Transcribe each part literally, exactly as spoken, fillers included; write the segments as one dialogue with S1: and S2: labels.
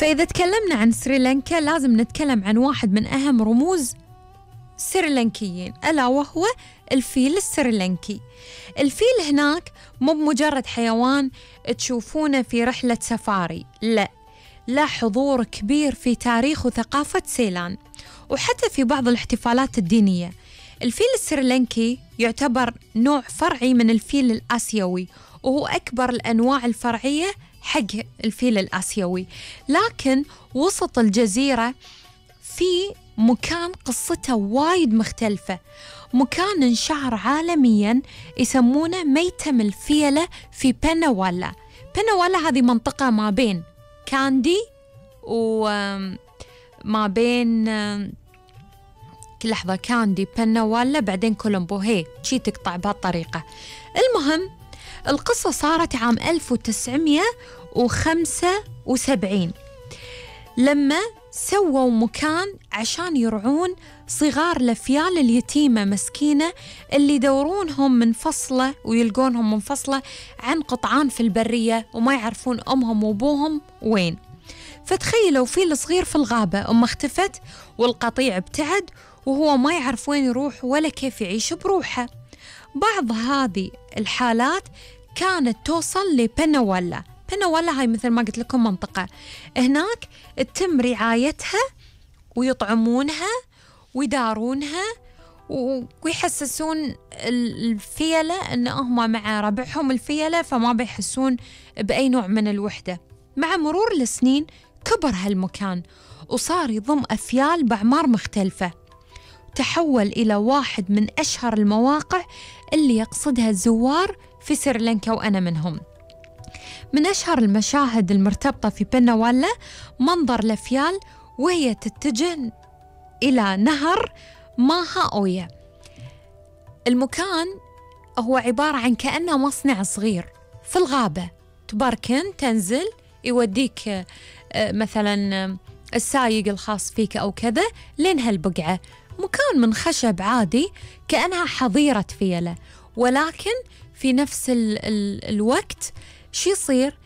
S1: فإذا تكلمنا عن سريلانكا لازم نتكلم عن واحد من أهم رموز سريلانكيين، ألا وهو الفيل السريلانكي. الفيل هناك مو بمجرد حيوان تشوفونه في رحلة سفاري، لا، له حضور كبير في تاريخ وثقافة سيلان، وحتى في بعض الاحتفالات الدينية. الفيل السريلانكي يعتبر نوع فرعي من الفيل الآسيوي، وهو أكبر الأنواع الفرعية حق الفيل الآسيوي. لكن وسط الجزيرة في مكان قصته وايد مختلفة، مكان انشهر عالمياً يسمونه ميتم الفيلة في بنوالا. بنوالا هذه منطقة ما بين كاندي وما بين كل لحظة كاندي بنوالا بعدين كولومبو، هي شي تقطع بهالطريقة. المهم القصة صارت عام ألف وتسعمية وخمسة وسبعين لما سووا مكان عشان يرعون صغار الأفيال اليتيمة مسكينة اللي يدورونهم منفصلة ويلقونهم منفصلة عن قطعان في البرية وما يعرفون أمهم وأبوهم وين. فتخيلوا فيل صغير في الغابة، أمه اختفت والقطيع ابتعد وهو ما يعرف وين يروح ولا كيف يعيش بروحه. بعض هذه الحالات كانت توصل لبنوالا. بنوالا هاي مثل ما قلت لكم منطقة هناك تتم رعايتها ويطعمونها ويدارونها ويحسسون الفيلة أن هم مع ربعهم الفيلة، فما بيحسون بأي نوع من الوحدة. مع مرور السنين كبر هالمكان وصار يضم أفيال بأعمار مختلفة، تحول إلى واحد من أشهر المواقع اللي يقصدها الزوار في سريلانكا، وأنا منهم. من أشهر المشاهد المرتبطة في بنوالا منظر الأفيال وهي تتجه إلى نهر ماها أويا. المكان هو عبارة عن كأنه مصنع صغير في الغابة، تباركن تنزل يوديك مثلا السايق الخاص فيك أو كذا لين هالبقعة. مكان من خشب عادي كأنها حظيرة فيلة، ولكن في نفس ال ال الوقت شي يصير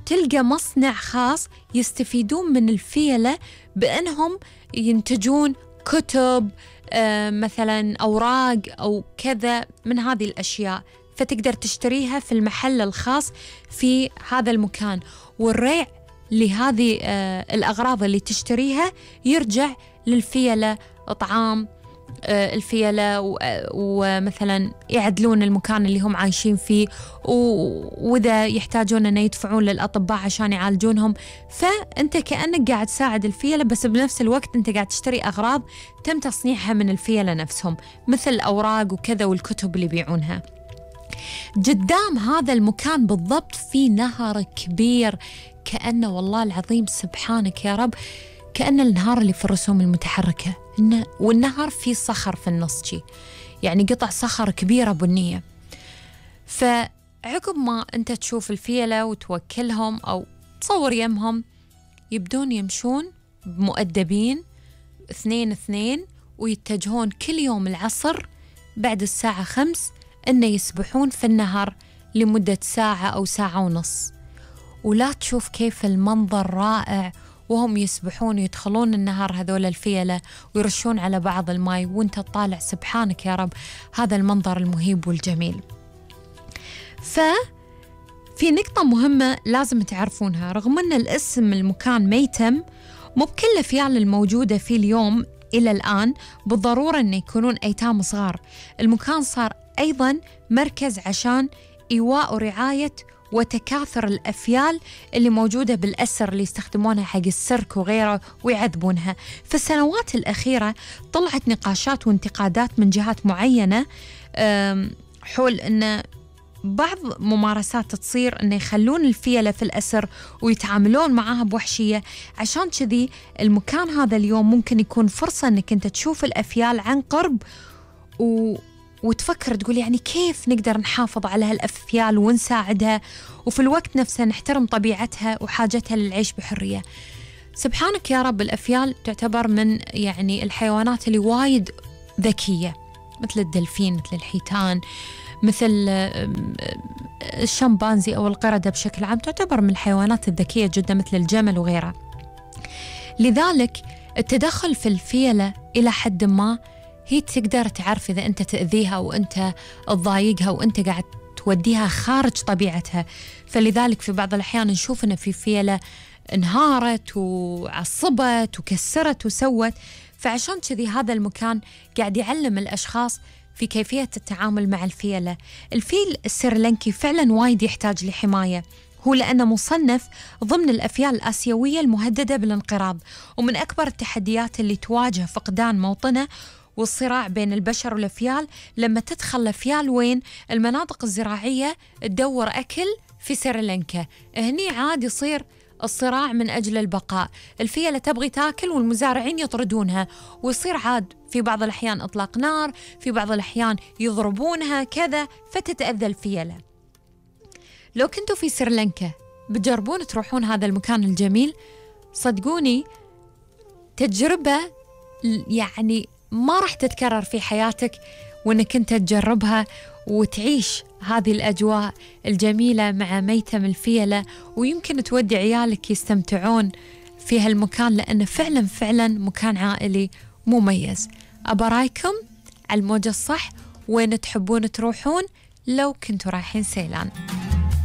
S1: تلقى مصنع خاص يستفيدون من الفيلة بأنهم ينتجون كتب آه مثلا أوراق أو كذا من هذه الأشياء، فتقدر تشتريها في المحل الخاص في هذا المكان. والريع لهذه آه الأغراض اللي تشتريها يرجع للفيلة، طعام آه الفيلة، ومثلا يعدلون المكان اللي هم عايشين فيه، وإذا يحتاجون أن يدفعون للأطباء عشان يعالجونهم. فأنت كأنك قاعد تساعد الفيلة، بس بنفس الوقت أنت قاعد تشتري أغراض تم تصنيعها من الفيلة نفسهم، مثل الأوراق وكذا والكتب اللي يبيعونها. قدام هذا المكان بالضبط في نهر كبير، كأنه والله العظيم سبحانك يا رب كأن النهار اللي في الرسوم المتحركة، والنهر فيه صخر في النص شي، يعني قطع صخر كبيرة بنية. فعقب ما أنت تشوف الفيلة وتوكلهم أو تصور يمهم، يبدون يمشون مؤدبين اثنين اثنين ويتجهون كل يوم العصر بعد الساعة خمس إنه يسبحون في النهر لمدة ساعة أو ساعة ونص. ولا تشوف كيف المنظر رائع وهم يسبحون ويدخلون النهر هذول الفيلة ويرشون على بعض الماء، وانت تطالع سبحانك يا رب هذا المنظر المهيب والجميل. ففي نقطة مهمة لازم تعرفونها، رغم أن الاسم المكان ميتم، مو بكل الفيال الموجودة فيه اليوم إلى الآن بالضرورة أن يكونون أيتام صغار. المكان صار أيضا مركز عشان إيواء ورعاية وتكاثر الأفيال اللي موجودة بالأسر اللي يستخدمونها حق السيرك وغيره ويعذبونها. في السنوات الأخيرة طلعت نقاشات وانتقادات من جهات معينة حول أن بعض ممارسات تصير أن يخلون الفيلة في الأسر ويتعاملون معها بوحشية. عشان كذي المكان هذا اليوم ممكن يكون فرصة أنك أنت تشوف الأفيال عن قرب و وتفكر تقول يعني كيف نقدر نحافظ على هالأفيال ونساعدها، وفي الوقت نفسه نحترم طبيعتها وحاجتها للعيش بحرية. سبحانك يا رب الأفيال تعتبر من يعني الحيوانات اللي وايد ذكية، مثل الدلفين، مثل الحيتان، مثل الشمبانزي أو القردة بشكل عام، تعتبر من الحيوانات الذكية جدا، مثل الجمل وغيرها. لذلك التدخل في الفيلة إلى حد ما هي تقدر تعرف إذا أنت تأذيها وأنت تضايقها وأنت قاعد توديها خارج طبيعتها. فلذلك في بعض الأحيان نشوف أن في فيلة انهارت وعصبت وكسرت وسوت. فعشان كذي هذا المكان قاعد يعلم الأشخاص في كيفية التعامل مع الفيلة. الفيل السريلانكي فعلا وايد يحتاج لحماية، هو لأنه مصنف ضمن الأفيال الآسيوية المهددة بالانقراض، ومن أكبر التحديات اللي تواجه فقدان موطنه والصراع بين البشر والأفيال لما تدخل الأفيال وين المناطق الزراعية تدور أكل في سريلانكا. هني عاد يصير الصراع من أجل البقاء، الفيلة تبغي تاكل والمزارعين يطردونها، ويصير عاد في بعض الأحيان إطلاق نار، في بعض الأحيان يضربونها كذا، فتتأذى الفيلة. لو كنتوا في سريلانكا بتجربون تروحون هذا المكان الجميل، صدقوني تجربة يعني ما راح تتكرر في حياتك، وإنك أنت تجربها وتعيش هذه الأجواء الجميلة مع ميتم الفيلة، ويمكن تودي عيالك يستمتعون في هالمكان لأنه فعلا فعلا مكان عائلي مميز. أبرايكم على الموجة الصح وين تحبون تروحون لو كنتوا رايحين سيلان.